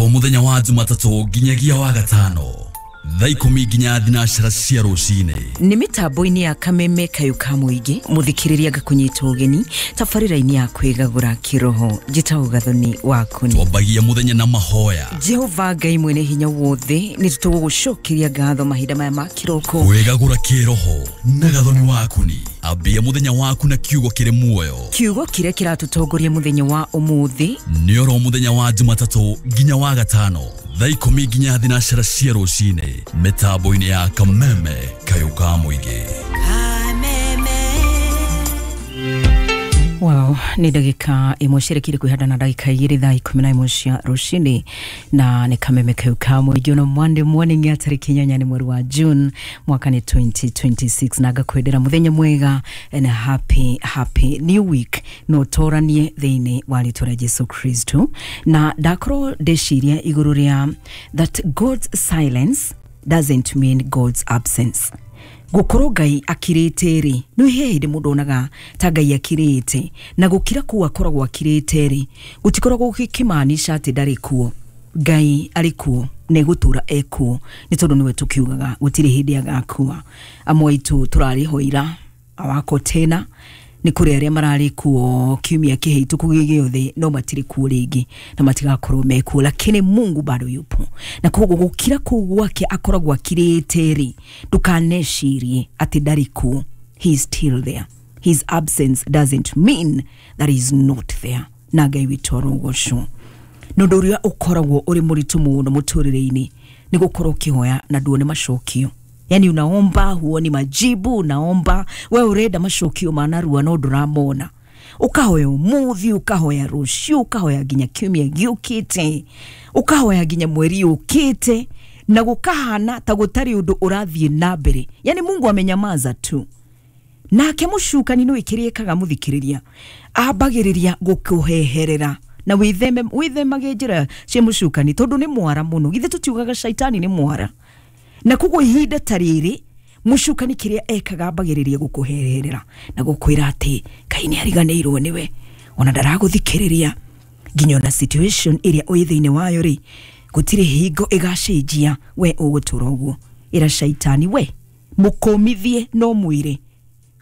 Oro muthenya wa Jumatatũ nginyagia wa gatano thaa 10 nginya 12 cia rũcinĩ. Nĩ mĩtambo-inĩ ya Kameme Kayũ ka Mũingĩ, mũthikĩrĩria ngakũnyita ũgeni tabarĩra-inĩ ya kwĩgagũra kĩroho. Njĩtagwo Gathoni Wakuni. Twambagia mũthenya na mahoya. Jehova Ngai mwene hinya wothe, nĩ tũgũgũcokeria ngatho mahinda maya ma kĩroko. Kwĩgagũra kĩroho na Gathoni Wakuni. Ambia mũthenya waku na kiugo kĩrĩ muoyo. Kiugo kĩrĩa kĩratũtongoria mũthenya wa ũmũthĩ nĩ oro mũthenya wa Jumatatũ nginya wa gatano thaa 10 nginya 12 cia rũcinĩ mĩtambo-inĩ ya Kameme Kayũ ka Mũingĩ. Wow, nĩ ndagĩka ĩmwe cirekire kwĩhanda na ndagĩka 2 thaa 11 cia rũcinĩ, na nĩ Kameme Kayũ ka Mũingĩ ono Monday morning ya tarĩki 8 mweri wa June mwaka nĩ 2026, na ngakwendera mũthenya mwega and happy happy new week, no ũtũranie thĩinĩ wa rĩtwa rĩa Jesu Kristo. Na ndakorwo ndĩciria igũrũ rĩa that God's silence doesn't mean God's absence. Gukorwo Ngai akirĩte rĩ, nĩ he hĩndĩ mũndũ onaga ta Ngai akirĩte, na gũkira kũu akoragwo akirĩte rĩ, gũtikoragwo gũkĩmaanisha atĩ ndarĩ kuo. Ngai arĩ kuo na egũtũra ekuo, nĩ tondũ nĩwe tũkiugaga gũtirĩ hĩndĩ agakua. Amwe aitũ tũrarĩ ho ira, awako tena nĩ kũrĩ arĩa mararĩ kuo kiumia kĩhĩtũku gĩothe, no matirĩ kuo rĩngĩ na matigakorwo mekuo, lakini Mungu bado yupo. Na koguo gũkira kũu gwake akoragwo akirĩte rĩ, ndũkanecirie atĩ ndarĩ kuo. He is still there. His absence doesn't mean that he is not there. Na Ngai witũ arogocwo. Na ũndũ ũrĩa ũkoragwo ũrĩ mũritũ mũno mũtũrĩre-inĩ nĩ gũkorwo ũkĩhoya na nduone macokio. Yani unaomba huoni majibu, unaomba we urenda macokio ma narua no ndũramona. Ũkahoya ũmũthĩ, ũkahoya rũciũ, ũkahoya nginya kiumia gĩũkĩte, ũkahoya nginya mweri ũkĩte, na gũkahana ta gũtarĩ ũndũ ũrathiĩ na mbere. Yani Mungu amenyamaza tu. Nake mũcukani nĩ kĩrĩa mũthikĩrĩria ambagĩrĩria gũkũheherera na wĩthemage njĩra cia mũcukani, tondũ nĩ mwara mũno. Githĩ tũtiugaga shaitani nĩ mwara? Na koguo ihinda ta rĩrĩ mũcukani kĩrĩa ekaga ambagĩrĩria gũkũheherera na gũkwĩra atĩ Ngai nĩ ariganĩirwo nĩwe, ona ndaragũthikĩrĩria, nginya ona situation ĩrĩa ũrĩ thĩinĩ wayo rĩ, gũtirĩ hingo ĩgacenjia, we ũgũtũra ũguo. Ĩra shaitani we mũkũmithie no mwĩre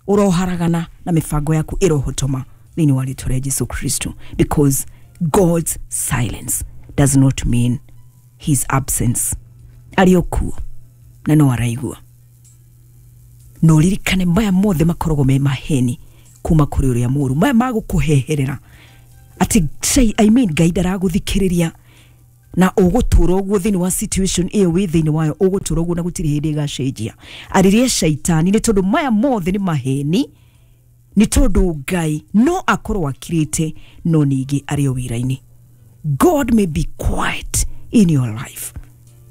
ũroharagana na mĩbango yaku ĩrohotoma thĩinĩ wa rĩtwa rĩa Jesu Kristo, because God's silence does not mean his absence. Arĩ o kuo na no araigua. No ririkane maya mothe makoragwo me maheni kuma kũrĩ ũrĩa mũũru, maya magũkũheherera atĩ I mean Ngai ndaragũthikĩrĩria na ũgũtũra ũguo thĩinĩ wa situation ĩyo wĩ thĩinĩ wayo, ũgũtũra ũguo na gũtirĩ hĩndĩ ĩgacenjia. Arĩria shaitani nĩ tondũ maya mothe nĩ maheni, nĩ tondũ Ngai no akorwo akirĩte no ningĩ arĩ o wĩra-inĩ. God may be quiet in your life,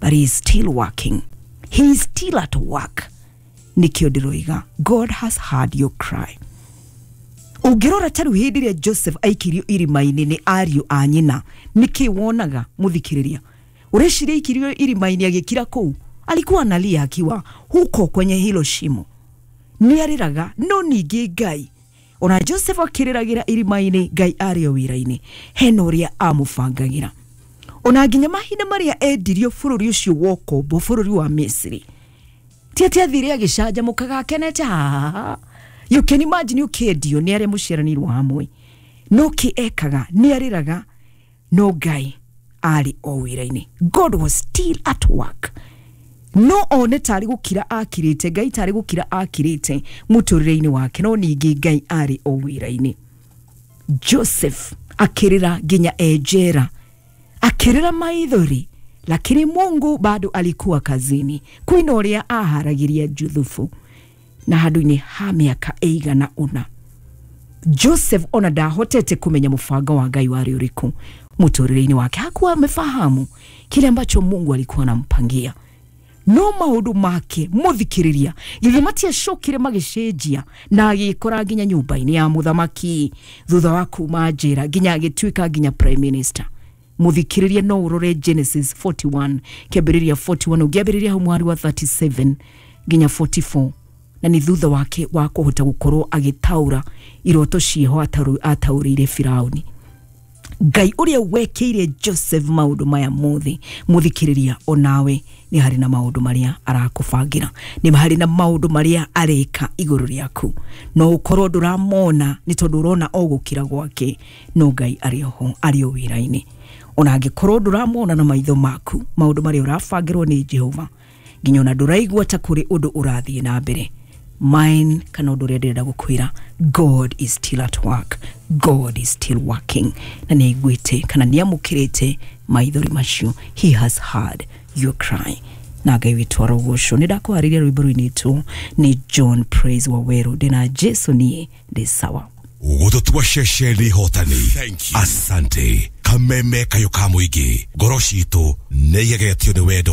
but he is still working. He is still at work. Nikio ndĩroiga, God has heard your cry. Ũngĩrora ta rĩu hĩndĩ ĩrĩa Joseph aikirio irima-inĩ nĩ ariũ a nyina, nĩkĩ wonaga mũthikĩrĩria? Ũreciria aikirio irima-inĩ agĩkira kũu? Alikuwa analia akiwa huko kwenye hilo shimo. Nĩ arĩraga, no ningĩ Ngai ona Joseph akĩrĩragĩra irima-inĩ, Ngai arĩ o wĩra-inĩ, hena ũrĩa amũbangagĩra. Ona nginya mahinda marĩa endirio bũrũri ũcio wa ũkombo, bũrũri wa Misiri, ti atĩ athire agĩcanjamũkaga akenete. You can imagine ũkĩendio nĩ arĩa mũciaranĩirwo hamwe, no kĩ ekaga nĩ arĩraga, no Ngai arĩ o wĩra-inĩ. God was still at work. No one tarĩ gũkira akirĩte, Ngai tarĩ gũkira akirĩte mũtũrĩre-inĩ wake, no ningĩ Ngai arĩ o wĩra-inĩ. Joseph akĩrĩra nginya e njera, akĩrĩra maithori, lakini Mungu bado alikuwa kazini. Kwĩna ũrĩa aharagĩria Juthufu na handũ-inĩ ha mĩaka ĩigana ũna. Joseph ona ndahotete kũmenya mũbango wa Ngai warĩ ũrĩkũ mũtũrĩre-inĩ wake. Hakuwa amefahamu kile ambacho Mungu alikuwa anampangia. No maũndũ make mũthikĩrĩria githĩ matiacokire magĩcenjia na agĩkora nginya nyũmba-inĩ ya mũthamaki thutha wa kuma njera nginya agĩtuĩka nginya prime minister. Mũthikĩrĩria no ũrore Genesis 41 kĩambĩrĩria 41 ũngĩambĩrĩria hau mwari wa 37 nginya 44, na nĩ thutha wake wa kũhota gũkorwo agĩtaũra iroto ciĩho ataũrĩire Firauni. Ngai ũrĩa wekĩire Joseph maũndũ maya mothe, mũthikĩrĩria, onawe nĩ harĩ na maũndũ marĩa arakũbangĩra, nĩ harĩ na maũndũ marĩa areka igũrũ rĩaku. No ũkorwo ndũramona nĩ tondũ ũrona o gũkira gwake, no Ngai arĩ oho, arĩ o wĩra-inĩ. Ona angĩkorwo ndũramona na maitho maku maũndũ marĩa ũrabangĩrwo nĩ Jehova, nginya ona ndũraigua ta kũrĩ ũndũ ũrathiĩ na mbere, mine kana ũndũ ũrĩa ndĩrenda gũkwĩra, God is still at work, God is still working, na nĩ aiguĩte kana nĩ amũkĩrĩte maithori macio. He has heard your cry, na Ngai witũ arogocwo. Nĩ ndakũharĩria rwĩmbo rũinĩtwo nĩ John Praise Waweru, ndĩna Jesu niĩ ndĩ sawa. Gũtũtua ceceni hotani. Asante. Kameme kayũ ka mũingĩ, ngoro citũ nĩ igegetio nĩ wendo.